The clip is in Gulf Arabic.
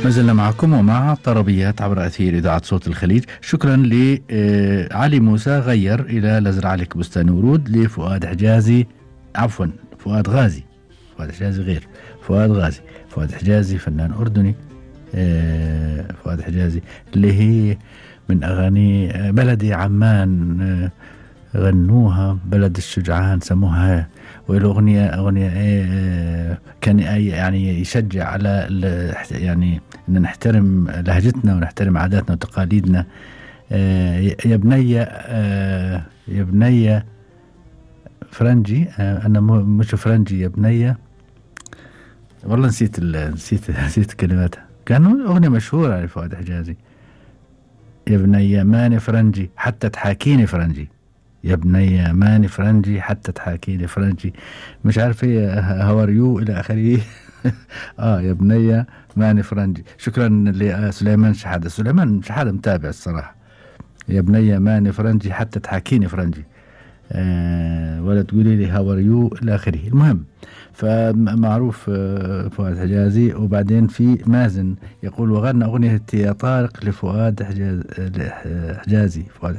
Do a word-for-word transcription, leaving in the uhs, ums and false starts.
ما زلنا معكم ومع طربيات عبر أثير إذاعة صوت الخليج. شكرا لعلي موسى غير إلى لزرع لك بستان ورود، لفؤاد حجازي عفوا فؤاد غازي فؤاد حجازي غير فؤاد غازي فؤاد حجازي فنان أردني. فؤاد حجازي اللي هي من أغاني بلدي عمان، غنوها بلد الشجعان سموها، والأغنية أغنية إيه كان يعني يشجع على يعني أن نحترم لهجتنا ونحترم عاداتنا وتقاليدنا. يا بني يا بني فرنجي، أنا مش فرنجي يا بني، والله نسيت نسيت نسيت كلماتها، كانوا أغنية مشهورة لفؤاد حجازي. يا بني ماني فرنجي حتى تحاكيني فرنجي، يا بني ماني فرنجي حتى تحاكيني فرنجي، مش عارف ايه هاوريو الى اخره. اه يا بني ماني فرنجي. شكرا لسليمان شحادة. سليمان شحادة متابع الصراحة. يا بني ماني فرنجي حتى تحاكيني فرنجي، آه ولا تقولي لي هاوريو الى اخره. المهم فمعروف فؤاد حجازي. وبعدين في مازن يقول وغنى أغنية يا طارق لفؤاد حجاز حجازي فؤاد